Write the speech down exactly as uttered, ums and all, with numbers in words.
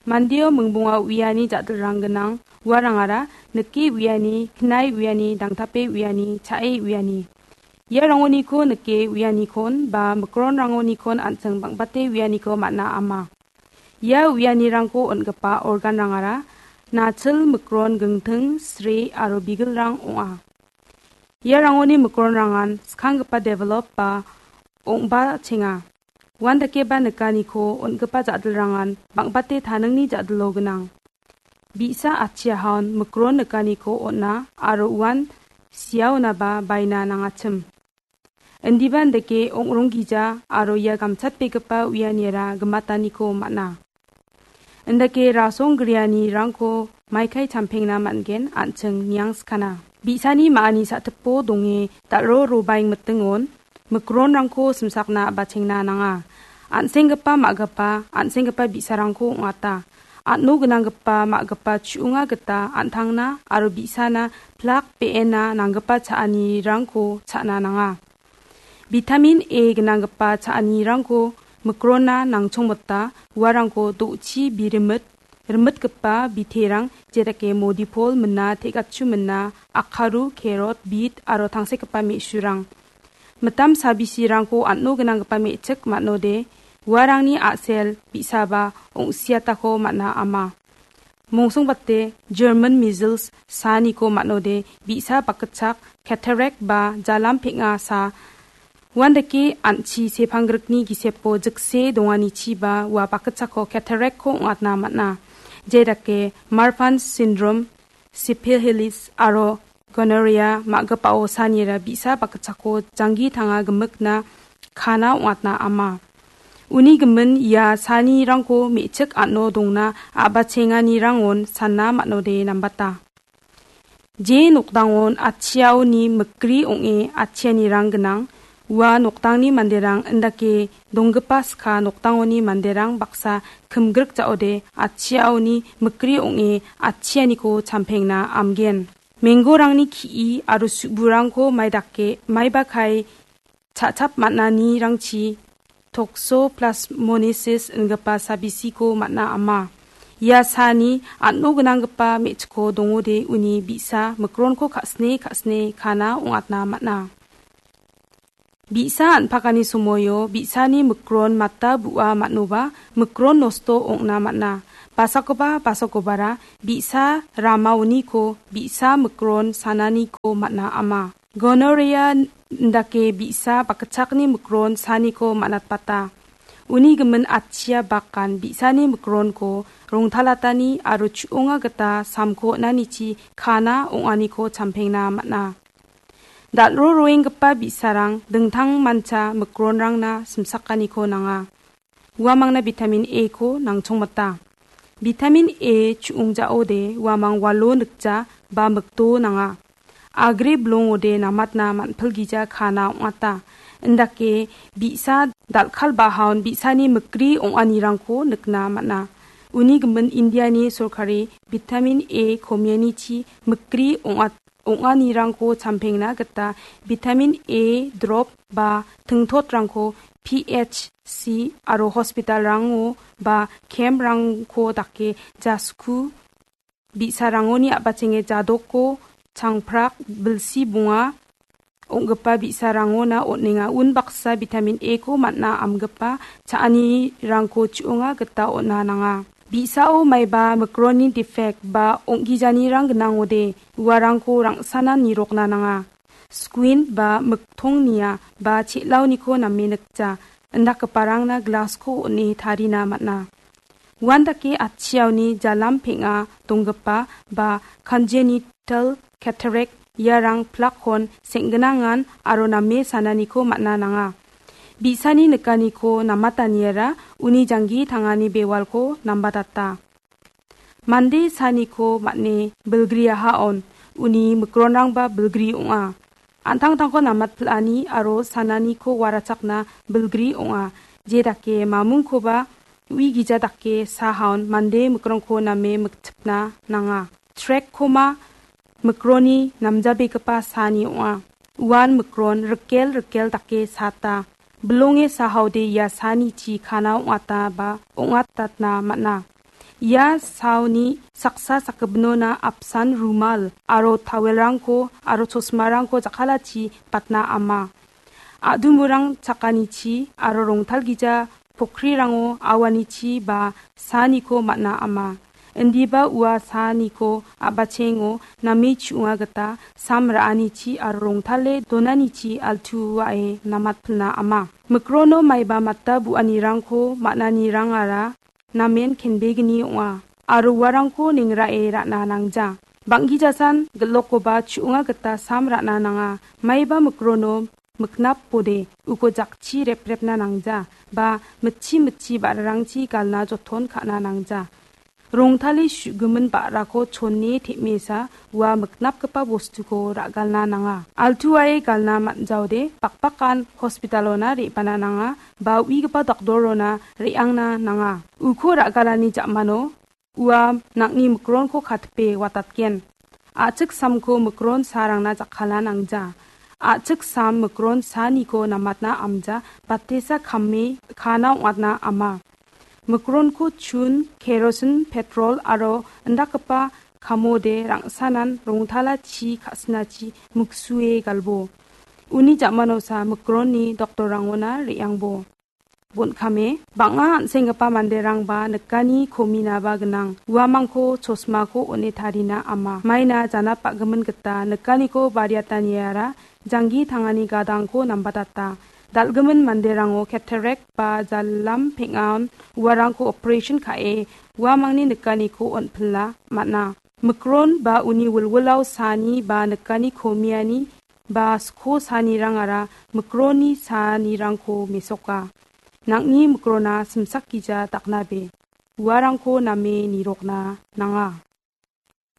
Mandeo mingbonga uiani ja·dilrang gnang, uarangara nike uiani, knae uiani, dangtape uiani, cha·e uiani. Ia rangoniko nike uianikon ba mikronrangonikon an·ching bang·bate uianiko man·a ama. Ia uianirangko on·gipa organrangara nachil, mikron, gingting, sre aro bigilrang ong·a. Ia rangoni mikronrangan skanggipa develop ba ong·bachenga. Uandakeba nikaniko on·gipa ja·dilrangan bang·bate taningni ja·dilo gnang. Bi·sa atchiahaon mikron nikaniko on·a aro uan siaonaba baina nangachim. Indiba indake ong·ronggija aro ia gamchatbegipa uianiara gimataniko man·a. Indake rasong grianirangko maikai champengna man·gen an·ching niangskana. Bi·sani ma·ani sa·tipo donge dal·ro robaing mitingon mikronrangko simsakna a·bachengna nanga. An·senggipa ma·gipa, an·senggipa bi·sarangko ong·ata. An·o gnanggipa ma·gipa chu·onga gita an·tangna aro bi·sana plak be·ena nanggipa cha·anirangko cha·na nanga. Bitamin A gnanggipa cha·anirangko mikronna nangchongmota uarangko do·chi birimit, rimitgipa biterang jedake modipol mina, te·gachu mina, akaru, kerot, bit aro tangsekgipa me·surang. Mitam sabisirangko an·o gnanggipa me·chik man·ode uarangni a·sel bi·saba ong·siatako man·a ama. Mongsongbate German measles saaniko man·ode bi·sa bakgitchak, cataract ba jalam peng·a saa. Uandake an·chi sepanggrikni gisepo jikse donganichiba ua bakgitchakko cataract-ko ong·atna man·a. Jedake Marfan syndrome, syphilis aro gonorrhea ma·gipao saanira bi·sa bakgitchakko janggi tanga gimikna kana ong·atna ama. Uni gimin ia saanirangko me·chik an·o dongna a·bachenganirangon sana man·ode nambata. Je nokdangon atchiaoni mikri ong·e atchianirang gnang, ua nokdangni manderang indake donggipa ska nokdangoni manderang baksa kimgrik ja·ode atchiaoni mikri ong·e atchianiko champengna amgen. Menggorangni ki·i aro su·burangko maidake, maiba kae cha·chap man·anirangchi toxoplasmosis ingipa sabisiko man·a ama. Ia saani an·o gnanggipa me·chikko dongode uni bi·sa mikronko ka·sine ka·sine kana ong·atna man·a. Bi·sa an·pakani somoio bi·sani mikron mata bu·a man·oba mikron nosto ong·na man·a. Basakoba basakobara bi·sa ramaoniko bi·sa mikron sananiko man·a ama. Gonorrhea indake bi·sa bakgitchakni mikron saaniko man·atbata. Uni gimin atchia bakan bi·sani mikronko rongtalatani aro chu·onga gita samko on·anichi kana ong·aniko champengna man·a. Dal·ro roenggipa bi·sarang dingtangmancha mikronrangna simsakaniko nanga. Uamangna bitamin A-ko nangchongmota. Bitamin A chu·ongjaode uamang walo nikja ba mikdo nanga. Agre bilongode namatna man·pilgija kana ong·ata. Indake bi·sa dal·kalbahaon bi·sani mikri ong·anirangko nikna man·a. Uni gimin Indiani sorkari bitamin A komianichi mikri ong·at-, ong·anirangko champengna gita bitamin A drop ba tingtotrangko P H C aro hospitalrango ba camprangko dake jasku bi·sarangoni a·bachenge jadoko changprak bilsi bonga ong·gipa bi·sarangona on·enga. Unbaksa bitamin A-ko man·a amgipa cha·anirangko chu·onga gita on·a nanga. Bi·sao maiba mikronni defect ba ong·gijanirang gnangode uarangko rang·sana nirokna nanga. Squint ba miktongnia ba che·laoniko name nikja, indakgiparangna glass-ko on·e tarina man·a. Uandake atchiaoni jalam peng·a donggipa ba congenital cataract iarang plakkon seng·gnangan aro name sananiko man·a nanga. Bi·sani nikaniko namataniara uni janggi tangani bewalko nambatata. Mande saaniko man·e bilgriahaon uni mikronrangba bilgri ong·a. An·tangtangko namatpil·ani aro sananiko warachakna bilgri ong·a. Je dake mamungkoba ui gija dake saahaon mande mikrongko name miktipna nanga. Trachoma mikroni namjabegipa saani ong·a. Uan mikron rikel rikel dake saata. Bilonge saahaode ia saanichi kana ong·ata ba ong·atatna man·a. Ia saoni saksa sakgipinona apsan rumal aro tawelrangko aro chosmarangko jakkalachi batna ama. Adumurang chakanichi aro rongtalgija pokrirango awanichi ba saaniko man·a ama. Indiba ua saaniko a·bachengo name chu·onga gita sam ra·anichi aro rongtale donanichi altuae namatpilna ama. Mikrono maiba mata bu·anirangko man·anirangara namen kenbegni ong·a, aro uarangko nengrae ra·na nangja. Bang·gijasan gil·lokoba chu·onga gita sam ra·na nanga. Maiba mikrono miknapode uko jakchi reprepna nangja, ba mitchi mitchi ba·rarangchi galna joton ka·na nangja. Rongtale su·gimin ba·rako chone tem·esa ua miknapgipa bostuko ra·galna nanga. Altuae galna man·jaode bakbakan hospitalona re·bana nanga, ba uigipa doktorona re·angna nanga. Uko ra·galani ja·mano ua nang·ni mikronko katipe watatgen. A·chik samko mikron saarangna jakkalna nangja. A·chik sam mikron saaniko namatna amja, batesa kame kana ong·atna ama. Mikronko chun, kerosin, petrol aro indakgipa kamode rangsanan rongtala chi ka·sinachi miksue galbo. Uni ja·manosa mikronni doktorrangona re·angbo. Bon·kame, bang·a an·senggipa manderangba nikani kominaba gnang. Uamangko chosmako on·e tarina ama. Maina janap ba·gimin gita nikaniko bariataniara janggi tangani gadangko nambatata. Dal·gimin manderango cataract ba jalam peng·aon uarangko operation ka·e uamangni nikaniko on·pila man·a. Mikron ba uni wilwilao saani ba nikani komiani ba sko saanirangara mikronni saanirangko mesoka. Nang·ni mikrona simsak gija daknabe. Uarangko name nirokna nanga.